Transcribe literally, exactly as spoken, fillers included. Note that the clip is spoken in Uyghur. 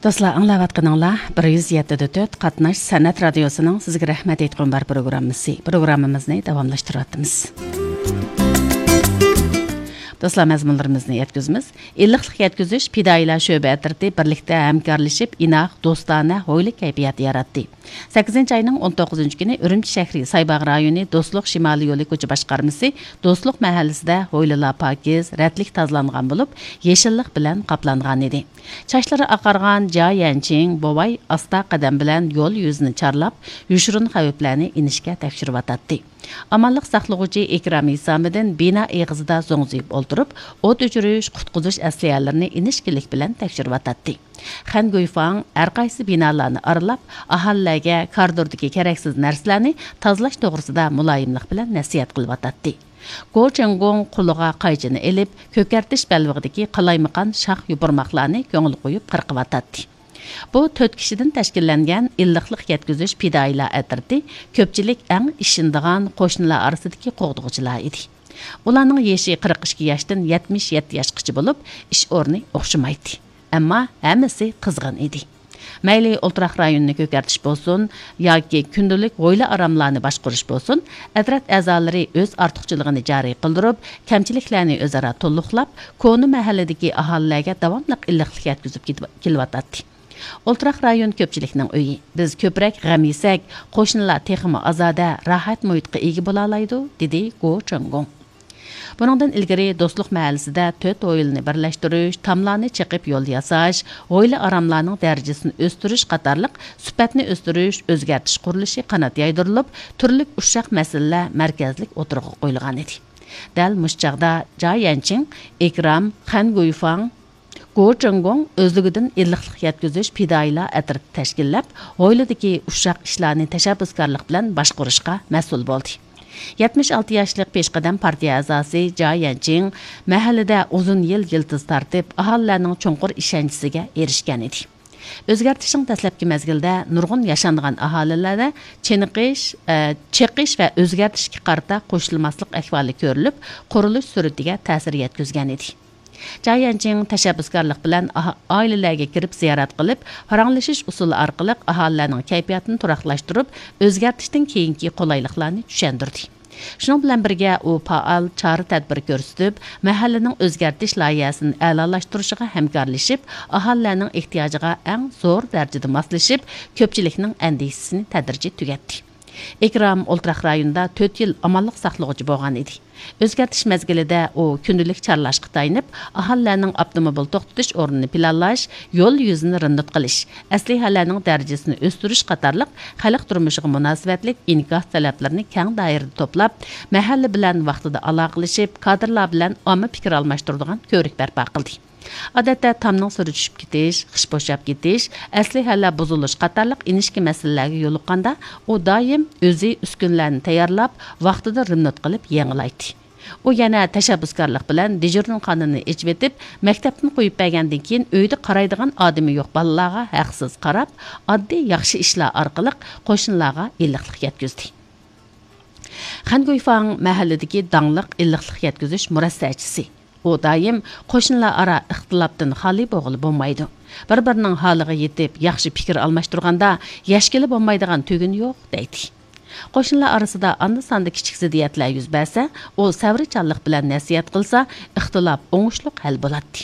دوستلار، ئاڭلاۋاتقىنىڭلار بىر يۈز يەتتە دە تۆت قاتناش سەنئەت رادىيوسىنىڭ سىزگە رەھمەت ئېيتقۇم بار پروگراممىسى. پروگراممىمىزنى داۋاملاشتۇرۇۋاتىمىز. دوستلار، مەزمۇنلىرىمىزنى يەتكۈزىمىز. ئىللىقلىق يەتكۈزۈش پىدائىيلار شۆبە ئەترىتى بىرلىكتە ھەمكارلىشىپ، ئىناق، دوستانە، ھويلا كەيپىياتى ياراتتى. سەككىزىنچى ئاينىڭ ئون توققۇزىنچى كۈنى ئۈرۈمچى شەھىرى سايباغ رايونى دوستلۇق شىمالىي يولى كوچا باشقارمىسى دوستلۇق مەھەللىسىدە ھويلىلار پاكىز، رەتلىك تازىلانغان بولۇپ، يېشىللىق بىلەن قاپلانغان ئىدى. چاچلىرى ئاقارغان جا يەنچىڭ بوۋاي ئاستا قەدەم بىلەن يول يۈزىنى چارلاپ، يوشۇرۇن خەۋپلەرنى ئىنچىكە تەكشۈرۈۋاتاتتى. ئامانلىق ساقلىغۇچى ئىكرام ھېسامىدىن بىنا ئېغىزىدا زوڭزىيىپ ئولتۇرۇپ، ئوت ئۆچۈرۈش، قۇتقۇزۇش ئەسلىھەلىرىنى ئىنچىكىلىك بىلەن تەكشۈرۈۋاتاتتى. خەن گۇيفاڭ ھەرقايسى بىنالارنى ئارىلاپ، ئاھالىلەرگە كارىدوردىكى كېرەكسىز نەرسىلەرنى تازىلاش توغرىسىدا مۇلايىملىق بىلەن نەسىھەت قىلىۋاتاتتى. گو چېڭگوڭ قولىغا قايچىنى ئېلىپ، كۆكەرتىش بەلبېغىدىكى قالايمىقان شاخ يوپۇرماقلارنى كۆڭۈل قويۇپ قىرقىۋاتاتتى. بۇ تۆت كىشىدىن تەشكىللەنگەن ئىللىقلىق يەتكۈزۈش پىدائىيلار ئەترىتى كۆپچىلىك ئەڭ ئىشىنىدىغان قوشنىلار ئارىسىدىكى قوغدىغۇچىلار ئىدى. ئۇلارنىڭ يېشى قىرىق ئىككى ياشتىن يەتمىش يەتتە ياشقىچە بولۇپ، ئىش ئورنى ئوخشىمايتتى. ئەمما ھەممىسى قىزغىن ئىدى. مەيلى ئولتۇراق رايونىنى كۆكەرتىش بولسۇن ياكى كۈندىلىك ھويلا ئاراملارنى باشقۇرۇش بولسۇن، ئەترەت ئەزالىرى ئۆز ئارتۇقچىلىقىنى جارى قىلدۇرۇپ، كەمچىلىكلەرنى ئۆزئارا تولۇقلاپ، كونا مەھەللىدىكى ئاھالىلەرگە داۋاملىق ئىللىقلىق يەتكۈزۈپ كېتىپ-، كېلىۋاتاتتى. ئولتۇراق رايون كۆپچىلىكنىڭ ئۆيى. بىز كۆپرەك غەم يېسەك، قوشنىلار تېخىمۇ ئازادە، راھەت مۇھىتقا ئىگە بولالايدۇ، دېدى گو چېڭگوڭ. بۇنىڭدىن ئىلگىرى دوستلۇق مەھەللىسىدە تۆت ھويلىنى بىرلەشتۈرۈش، تاملارنى چېقىپ يول ياساش، ھويلا ئاراملارنىڭ دەرىجىسىنى ئۆستۈرۈش قاتارلىق سۈپەتنى ئۆستۈرۈش، ئۆزگەرتىش قۇرۇلۇشى قانات يايدۇرۇلۇپ، تۈرلۈك ئۇششاق مەسىلىلەر مەركەزلىك ئوتتۇرىغا قويۇلغان ئىدى. دەل مۇشۇ چاغدا جا يەنچىڭ، ئىكرام، خەن گۇيفاڭ، گو چېڭگوڭ ئۆزلۈكىدىن ئىللىقلىق يەتكۈزۈش پىدائىيلار ئەترىتى تەشكىللەپ، ھويلىدىكى ئۇششاق ئىشلارنى تەشەببۇسكارلىق بىلەن باشقۇرۇشقا مەسئۇل بولدى. يەتمىش ئالتە ياشلىق پېشقەدەم پارتىيە ئەزاسى جا يەنچىڭ مەھەللىدە ئۇزۇن يىل يىلتىز تارتىپ، ئاھالىلەرنىڭ چوڭقۇر ئىشەنچىسىگە ئېرىشكەن ئىدى. ئۆزگەرتىشنىڭ دەسلەپكى مەزگىلىدە نۇرغۇن ياشانغان ئاھالىلەردە چېنىقىش، ئە، چېقىش ۋە ئۆزگەرتىشكە قارىتا قوشۇلماسلىق ئەھۋالى كۆرۈلۈپ، قۇرۇلۇش سۈرئىتىگە تەسىر يەتكۈزگەن ئىدى. جا يەنچىڭ تەشەببۇسكارلىق بىلەن ئاھ-، ئائىلىلەرگە كىرىپ زىيارەت قىلىپ، پاراڭلىشىش ئۇسۇلى ئارقىلىق ئاھالىلەرنىڭ كەيپىياتىنى تۇراقلاشتۇرۇپ، ئۆزگەرتىشتىن كېيىنكى قولايلىقلارنى چۈشەندۈردى. شۇنىڭ بىلەن بىرگە، ئۇ پائال چارە-تەدبىر كۆرسىتىپ، مەھەللىنىڭ ئۆزگەرتىش لايىھەسىنى ئەلالاشتۇرۇشىغا ھەمكارلىشىپ، ئاھالىلەرنىڭ ئېھتىياجىغا ئەڭ زور دەرىجىدە ماسلىشىپ، كۆپچىلىكنىڭ ئەندىشىسىنى تەدرىجىي تۈگەتتى. ئىكرام ئولتۇراق رايونىدا تۆت يىل ئامانلىق ساقلىغۇچى بولغان ئىدى. ئۆزگەرتىش مەزگىلىدە ئۇ كۈندىلىك چارلاشقا تايىنىپ، ئاھالىلەرنىڭ ئاپتوموبىل توختىتىش ئورنىنى پىلانلاش، يول يۈزىنى رېمونت قىلىش، ئەسلىھەلەرنىڭ دەرىجىسىنى ئۆستۈرۈش قاتارلىق خەلق تۇرمۇشىغا مۇناسىۋەتلىك ئىنكاس تەلەپلىرىنى كەڭ دائىرىدە توپلاپ، مەھەللە بىلەن ۋاقتىدا ئالاقىلىشىپ، كادىرلار بىلەن ئامما پىكىر ئالماشتۇرىدىغان كۆۋرۈك بەرپا قىلدى. ئادەتتە تامنىڭ سۈرى چۈشۈپ كېتىش، خىش بوشاپ كېتىش، ئەسلىھەلەر بۇزۇلۇش قاتارلىق ئىنچىكە مەسىلىلەرگە يولۇققاندا، ئۇ دائىم ئۆزى ئۈسكۈنىلەرنى تەييارلاپ، ۋاقتىدا رېمونت قىلىپ يېڭىلايتتى. ئۇ يەنە تەشەببۇسكارلىق بىلەن دېژۇرنىخانىنى ئېچىۋېتىپ، مەكتەپتىن قويۇپ بەرگەندىن كېيىن ئۆيدە قارايدىغان ئادىمى يوق بالىلارغا ھەقسىز قاراپ، ئاددىي ياخشى ئىشلار ئارقىلىق قوشنىلارغا ئىللىقلىق يەتكۈزدى. خەن گۇيفاڭ مەھەللىدىكى داڭلىق ئىللىقلىق يەتكۈزۈش مۇرەسسەچىسى. ئۇ دائىم قوشنىلار ئارا ئىختىلاپتىن خالىي بولغىلى بولمايدۇ. بىر-بىرىنىڭ ھالىغا يېتىپ، ياخشى پىكىر ئالماشتۇرغاندا، يەشكىلى بولمايدىغان تۈگۈن يوق، دەيتتى. قوشنىلار ئارىسىدا ئاندا-ساندا كىچىك زىددىيەتلەر يۈز بەرسە، ئۇ سەۋرچانلىق بىلەن نەسىھەت قىلسا، ئىختىلاپ ئوڭۇشلۇق ھەل بولاتتى.